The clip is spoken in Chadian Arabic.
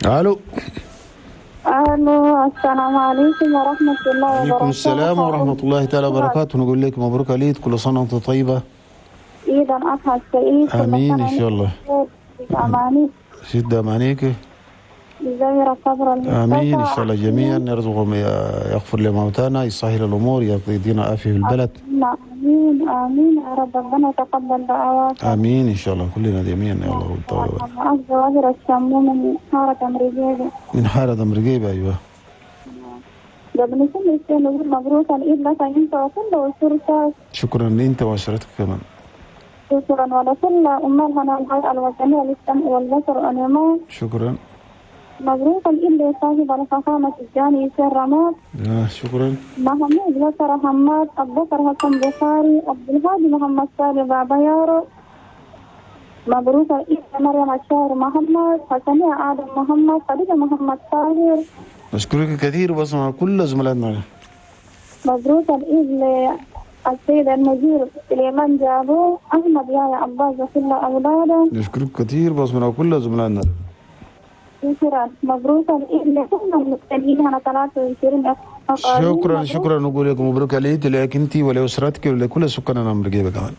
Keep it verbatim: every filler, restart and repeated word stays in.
الو. الو، السلام عليكم ورحمة الله وبركاته. عليكم السلام ورحمة الله تعالى وبركاته. نقول لك مبروك العيد، كل سنة وانت طيبة. عيد اضحى سعيد. كل امين سنة ان شاء الله. وانت اماني. شد امانيك. زي صبر. امين ان شاء الله جميعا، يرزقهم، يغفر لموتانا، يسهل الامور، يدينا عافية في البلد. امين امين يا رب، ربنا يتقبل دعواتك. امين ان شاء الله كلنا جميعا يا الله. معك جواهر الشمو من حارة أمريكية. من حارة أمريكية، ايوه. قبل كل شيء نقول مبروك العيد لك انت وكل اسرتك. شكرا انت واسرتك كمان. شكرا، ولكل عمال هنا الهيئة الوطنية للسمع والبصر والإيمان. شكرا. مبروك العيد لصاحب الفخامة الجاني يسير رماد. آه شكرا. محمود بكر حماد، أبو بكر حسن بخاري، عبد الهادي محمد سالم بابا يارو. مبروك العيد مريم الشاعر محمد، حسنية آدم محمد، خديجة محمد طاهر. نشكرك كثير بس مع كل زملائنا. مبروك العيد للسيد المدير سليمان جابو، أحمد يا عباس وكل أولاده. نشكرك كثير بس مع كل زملائنا. شكرا. مبروك العيد لكل المستمعين على ثلاثة وعشرين. شكرا شكرا، نقول لكم مبروك العيد لك انت ولاسرتك ولكل سكان الامريكية كمان.